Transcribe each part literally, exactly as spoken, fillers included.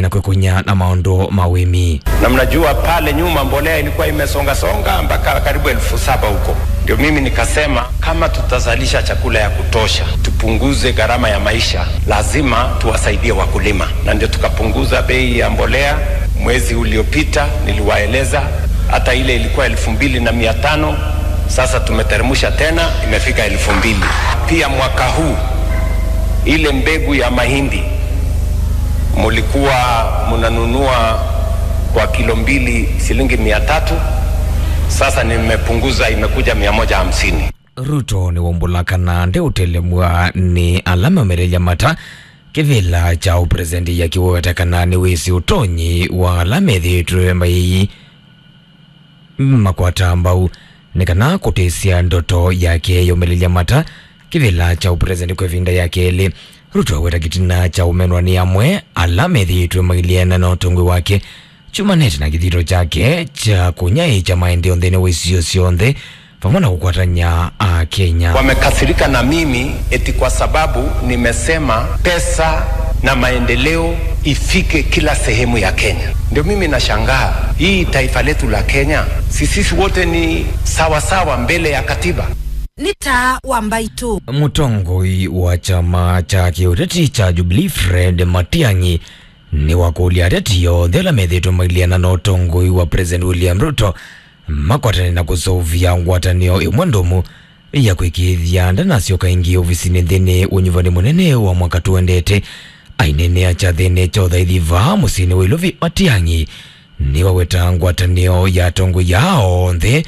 na kwĩkũnya na maũndũ ma ũĩmi. Na mnajua pale nyuma mbolea ilikuwa imesongasonga mpaka karibu elfu saba huko. Ndio mimi nikasema kama tutazalisha chakula ya kutosha, tupunguze gharama ya maisha, lazima tuwasaidie wakulima. Na ndio tukapunguza bei ya mbolea. Mwezi uliopita niliwaeleza, hata ile ilikuwa elfu mbili na mia tano, sasa tumeteremsha tena, imefika elfu mbili. Pia mwaka huu, ile mbegu ya mahindi mulikuwa munanunua kwa kilo mbili shilingi mia tatu, sasa nimepunguza, imekuja mia moja hamsini. Ruto nĩwaumbũla kana ndeũtelemw'a nĩ ala maũmĩlĩlya mata kĩvĩla kya ũpresidenti, akĩweta kana nĩwĩsĩ ũtonyi wa ala methĩĩtwe mai makwata mbau nĩ kana kũtĩsya ndoto yake ya ũmĩlĩlya mata kĩvĩla kya ũpresidenti kwa ĩvinda ya kelĩ. Ruto aweta kĩtina kya ũmenwa nĩ amwe ala methĩĩtwe mailyana na ũtongoi wake kyumanĩte na kĩthito kyake kya kũnyaĩĩkya maendeeo nthĩnĩ wa isio syonthe vamwe na kũkwatany'a Akenya. Wamekasirika na mimi eti kwa sababu nimesema pesa na maendeleo ifike kila sehemu ya Kenya. Ndio mimi nashangaa, hii taifa letu la Kenya, si sisi wote ni sawa sawa mbele ya katiba? Nĩ Taa wa Mbaitũ. Mũtongoi wa kyama kya kĩũteti kya Jubilee Fred Matiang'i nĩwakũlya ateti onthe ala methĩĩtwe mailyana na ũtongoi wa President William Ruto makwatane na kũseũvya ngwatanĩo ĩmwe ndũmu ya kwĩkĩĩthya ndanasyoka ĩngĩ ovisinĩ nthĩnĩ wa ũnyuvani mũnene wa mwaka tũendete. Aineenea kyathĩnĩ kya ũthaithi vaa mũsyĩnĩ wa Ilovi, Matiang'i nĩwaweta ngwatanĩo ya atongoi aa onthe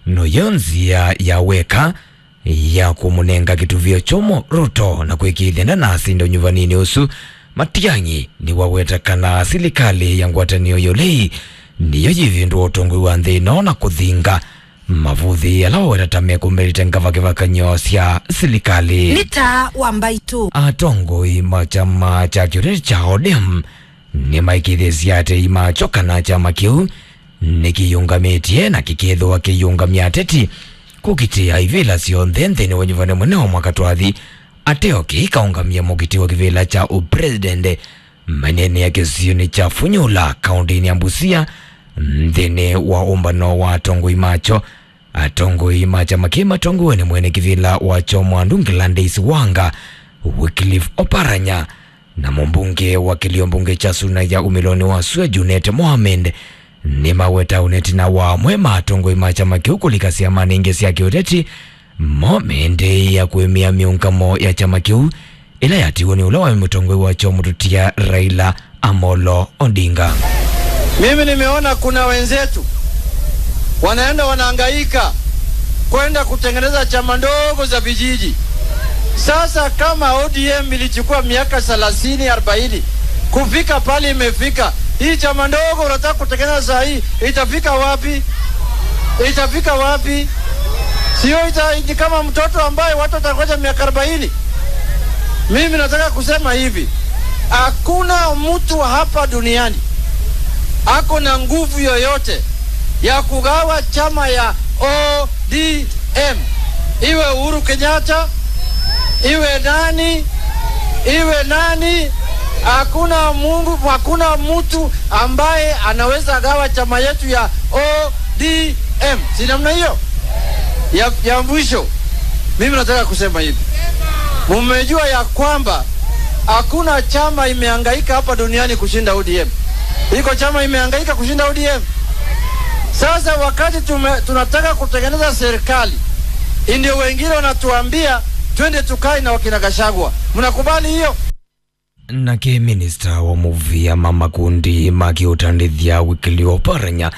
noyo nzĩa ya weka ya kũmũnenga kĩtuvĩo kyũmũ Ruto na kwĩkĩĩthya ndanasinda ũnyuvaninĩ ũsu. Matiang'i nĩwaweta kana silikalĩ ya ngwatanĩo ya ũlei nĩyo yĩvĩndũa ũtongoi wa nthĩ ĩno na kũthinga mavũthĩ ala waweta ta mekũmĩlĩte ngavakĩvakanyo sya silikalĩ. Nĩ Taa wa Mbaitũ. Atongoi ma kyama kya kĩũteti kya O D M nĩmaĩkĩĩthĩsye atei makyo kana kyama kĩu nĩkĩyĩũngamĩtye na kĩkethĩwa kĩyĩũngamya ateti kũkitĩa ivĩla syonthe nthĩnĩ wa ũnyuvani mũnene wa mwaka twathi, ateo kĩikaũngamya mũkitĩ wa kĩvĩla kya ũpresident. Maineenea kĩsionĩ kya Funyula, kaũntĩnĩ ya Busia, nthĩnĩ wa ũmbano wa atongoi makyo, atongoi ma kyama kĩĩ matongoew'e nĩ mwene kĩvĩla wakyo Mwandu Gladys Wanga, Wycliffe Oparanya, na mũmbunge wa kĩlio mbunge kya Suna ya umĩlonĩ wa sua Junet Mohamed nĩmaweta ũneti na wa amwe ma atongoi ma kyama kĩu kũlika syamanĩ ingĩ sya kĩũteti mo meendeea kũĩmĩa mĩũngamo ya kyama kĩu ĩla yatiiwe nĩ ũla waĩ mũtongoi wakyo mũtutia Raila Amolo Odinga. Mimi nimeona kuna wenzetu wanaenda wanahangaika kwenda kutengeneza chama ndogo za vijiji. Sasa kama O D M ilichukua miaka thelathini, arobaini kufika pale imefika, hii chama ndogo unataka kutengeneza saa hii, itafika wapi? Itafika wapi? Sio ita-, ni kama mtoto ambaye watu watangoja miaka arobaini. Mimi nataka kusema hivi, hakuna mtu hapa duniani ako na nguvu yoyote ya kugawa chama ya O D M. Iwe Uhuru Kenyatta, iwe nani, iwe nani, hakuna Mungu, hakuna mtu ambaye anaweza gawa chama yetu ya O D M. Si namna hiyo? Ya, ya mwisho, mimi nataka kusema hivi. Mumejua ya kwamba hakuna chama imehangaika hapa duniani kushinda O D M. Iko chama imehangaika kushinda O D M? Sasa wakati tume-, tunataka kutengeneza serikali, ndio wengine wanatuambia twende tukae na wakina Gachagua. Mnakubali hiyo? Nake minista wa mũvĩa ma makundi ma kĩũtandĩthya Wycliffe Oparanya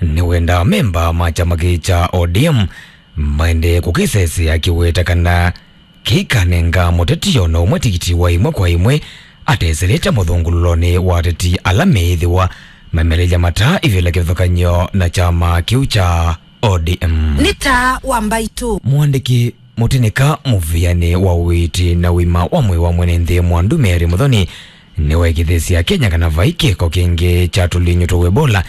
nĩwenda amemba ma kyama kĩĩ kya O D M maendee kũkĩsesea, akĩweta kana kĩikanenga mũteti o na ũmwe tikiti wa ĩmwe kwa ĩmwe ateselete mũthũngũlũlonĩ wa ateti ala meĩthĩwa mamelelya mata ivĩla kĩvathũkany'o na kyama kĩu kya O D M. Nĩ Taa wa Mbaitũ. Mũandĩki mũtĩnĩka mũvĩanĩ wa ũiiti na ũima wa mwĩĩ wa mwene nthĩ Mwandu Mary Muthoni nĩwaĩkĩĩthĩsye Akenya kana vai kĩko kĩngĩ kya tũlinyũ twa Ebola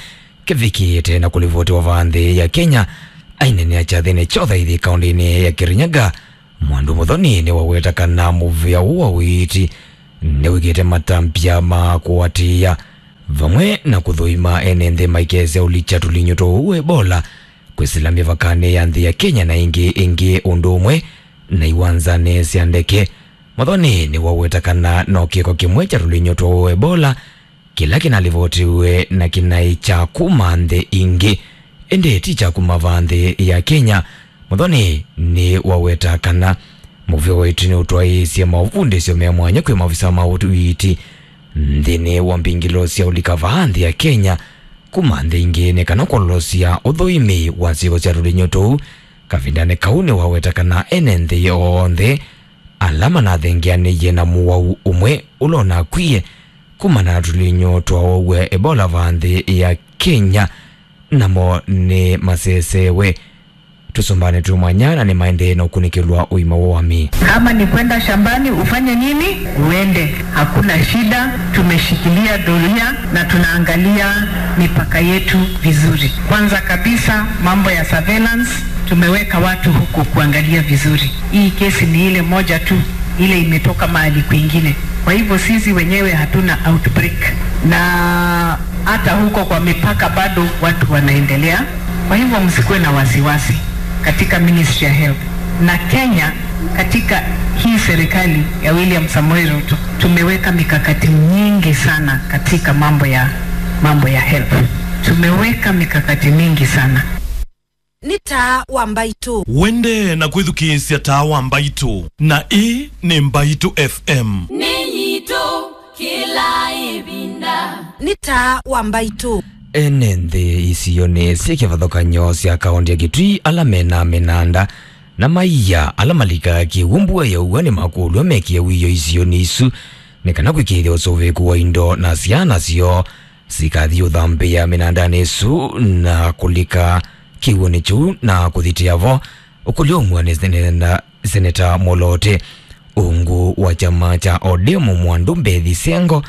kĩvikĩĩte na kũlivotiwa vaa nthĩ ya Kenya. Aineenea kyathĩnĩ kya ũthaithi kaũntĩnĩ ya Kirinyaga, Mwandu Muthoni nĩwaweta kana mũvĩa ũũ wa ũiiti nĩwĩkĩte matambya ma kũatĩĩa vamwe na kũthũima ene nthĩ maikese ũlikya tũlinyũ twa ũwau wa Ebola kwĩsĩla mĩvakanĩ ya nthĩ ya Kenya na ĩngĩ ĩngĩ ũndũ ũmwe na iwanzanĩ sya ndeke. Muthoni nĩwaweta kana no kĩko kĩmwe kya tũlinyũ twa ũwau wa Ebola kĩla kĩnalivotiwe na kĩnaĩ kya kuma nthĩ ingĩ, ĩndĩ ti kya kuma vaa nthĩ ya Kenya. Muthoni nĩwaweta kana mũvĩa wa ĩtu nĩũtwaĩĩsye maũvundĩsyo me mwanya kwĩ maovisa ma ũiiti nthĩnĩ wa mbingĩlo sya ũlika vaa nthĩ ya Kenya kuma nthĩ ingĩ nĩ kana kwolosya ũthũimi wa syĩko sya tũlinyũ tũu. Kavindanĩ kau nĩwaweta kana ene nthĩ onthe ala manathengeanĩie na mũwau ũmwe ũla ũnakwie kumana na tũlinyũ twa ũwau wa Ebola vaa nthĩ ya Kenya, namo nĩ masesewe tũsũmbanĩ twĩ mwanya na nĩ maendee na ũkunĩkĩlwa ũima wa wami. Kama ni kwenda shambani ufanye nini? Uende, hakuna shida. Tumeshikilia doria na tunaangalia mipaka yetu vizuri. Kwanza kabisa, mambo ya surveillance, tumeweka watu huko kuangalia vizuri. Hii kesi ni ile moja tu ile imetoka mahali kwingine. Kwa hivyo sisi wenyewe hatuna outbreak, na hata huko kwa mipaka bado watu wanaendelea. Kwa hivyo msikuwe na wasiwasi katika Ministry ya Health. Na Kenya, katika hii serikali ya William Samoei Ruto, tumeweka mikakati mingi sana katika mambo ya, mambo ya health. Tumeweka mikakati mingi sana. Nĩ Taa wa Mbaitũ. Wende na kwĩthukĩĩsya Taa wa Mbaitũ, na ĩĩ nĩ Mbaitũ F M. Nĩ yitũ kĩla ĩvinda. Nĩ Taa wa Mbaitũ. Ene nthĩ isionĩ syĩ kĩvathũkany'o sya kaũntĩ ya Kitui ala mena mĩnanda na maia ala malikaa kĩw'ũ mbua yaua nĩmakũlw'a mekĩe wĩoo isionĩ isu nĩ kana kwĩkĩĩthya ũsũvĩĩku wa indo na syana syoo sikathi ũthambĩa mĩnandanĩ ĩsu na kũlika kĩw'ũnĩ kĩu na kũthitĩa vo. Ũkũlyo umw'a nĩ seneta, seneta Moloote. Ungu wa kyama kya O D M Mwandu Mbethi Sengo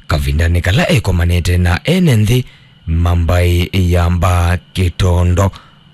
kavindanĩ kala ekomanĩte na ene nthĩ ma mbaĩ ya Mbaa Kĩtondo.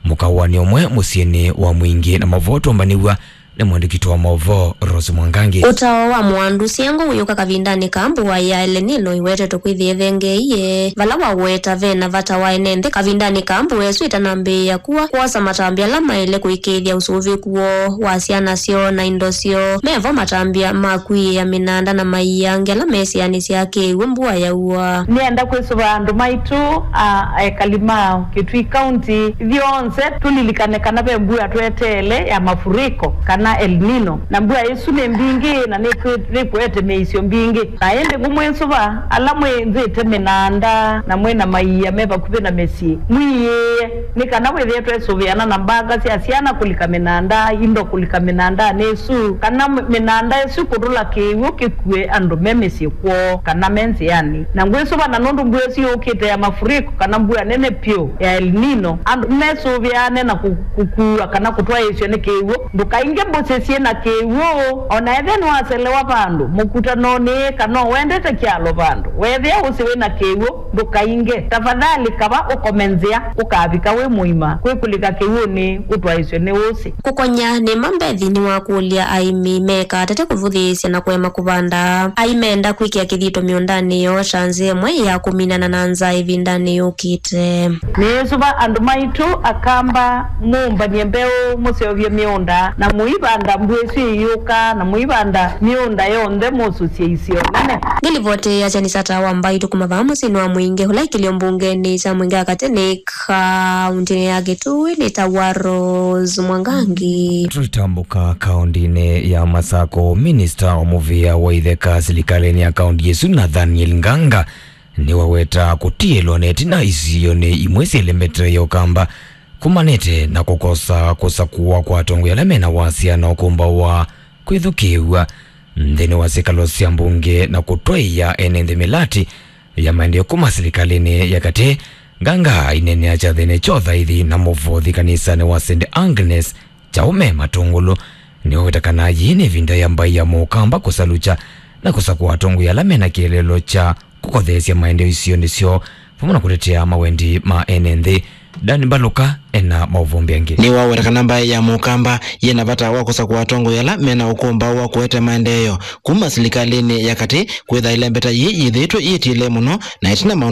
Mũkawanĩ ũmwe mũsyĩnĩ wa Mwingĩ na mavoo tũmbanĩw'a nĩ mwandĩki witũ wa maũvoo Rose Mwangangi. Ũtao wa Mwandu Sengo wĩũka kavindanĩ ka mbua ya El Nino ĩwetetwe kwĩthĩa ĩthengeeie, vala waweta ve na vata wa ene nthĩ kavindanĩ ka mbua ĩsu ĩtanambĩĩa kua kwosa matambya ala maĩle kũĩkĩĩthya ũsũvĩku woo wa syana syoo na indo syoo. Mevo matambya ma kwĩĩa mĩnanda na maia angĩ ala mesĩanĩsya kĩw'ũ mbua yaua. Nĩenda kwĩsũva andũ maitũ, a, ekali ma Kitui County, ithyonthe tũlilikane kana ve mbua tweteele ya mafuriko kana El Nino, na mbua ĩsu nĩ mbingĩ na nĩkwĩ-, nĩkũete mĩisyo mbingĩ. Na ĩndĩ ngũmwĩsũva ala mwĩnzĩte mĩnanda na mwĩ na maia me vakuvĩ na mĩsyĩ, mwĩĩe nĩ kana wĩthĩe twesũvĩana na mbanga sya syana kũlika mĩnanda, indo kũlika mĩnandanĩ ĩsu, kana mĩ-, mĩnanda ĩsu kũtũla kĩw'ũ kĩkue andũ me mĩsyĩ kwoo kana me nzĩanĩ. Na ngwĩsũva na nũndũ mbua ĩsu yũkĩte ya mafuriko kana mbua nene vyũ ya El Nino, andũ mesũvĩane na kũ-, kũkuwa kana kũtwaĩĩsw'a nĩ kĩw'ũ. Ndũkainge mbũsĩ syĩ na kĩw'ũ. O na ethĩa nĩwaselewa vandũ mũkutanonĩ kana ũendete kyalo vandũ, weethĩa ũsĩ wĩ na kĩw'ũ, ndũkainge. Tafadhali kava ũkome nzĩa ũkavika wĩ mũima, kwĩ kũlika kĩw'ũnĩ ũtwaĩĩsw'e nĩ ũsĩ. Kũkonya nĩ ma Mbethi nĩwakũlya aĩmi mekatete kũvũthĩĩsya na kũema kũvanda. Aimenda kwĩkĩa kĩthito mĩũndanĩ yoo ta nzĩa ĩmwe ya kũminana na nzaa ĩvindanĩ yũkĩte. Nĩĩsũva andũ maitũ Akamba, mũmbany'e mbeũ, mũseũvye mĩũnda, na mũivanda mbua ĩsu ĩyũka, na mũivanda mĩũnda yonthe, mũsũsye isio nene. Nĩ livoti ya Janisa Taa wa Mbaitũ kuma vaa mũsyĩnĩ wa Mwingĩ, ũla ĩkĩlyo mbungenĩ sya Mwingĩ ya katĩ nĩ kaũntĩnĩ ya Kitui nĩ ta wa Rose Mwangangi. Tũitambũka kaũntĩnĩ ya Masako, minista wa mũvĩa wa itheka silikalĩnĩ ya kaũntĩ ĩsu, Nathaniel Nganga, nĩwaweta kũtiĩlwa na ĩtina isionĩ imwe syĩ Lembetere ya Ũkamba kumanĩte na kũkosa kũsakũwa kwa atongoi ala mena wasya na ũkũmbaũ wa kwĩthukĩĩw'a nthĩnĩ wa syĩkalo sya mbunge na kũtwaĩa ene nthĩ mĩlatĩ ya maendeeo kuma silikalĩnĩ ya katĩ. Nganga aineenea kyathĩnĩ kya ũthaithi na mũvothi kanisanĩ wa Saint Agnes Kyaũme Matũngũlũ nĩwaweta kana yĩĩ nĩ ĩvinda ya mbaĩ ya Mũkamba kũsalukya na kũsakũa atongoi ala mena kĩeleelo kya kũkotheesya maendeeo isionĩ syoo vamwe na kũtetea mawendi ma ene nthĩ. Dan Mbalũka ena maũvũmbĩ angĩ. Nĩwaweta kana mbaĩ ya Mũkamba yĩna vata wa kũsakũa atongoi ala mena ũkũmbaũ wa kũete maendeeo kuma silikalĩnĩ ya katĩ, kwĩtha ĩlembeta yĩĩ yĩthĩĩtwe yĩtiĩle mũno na ĩtina maũndũ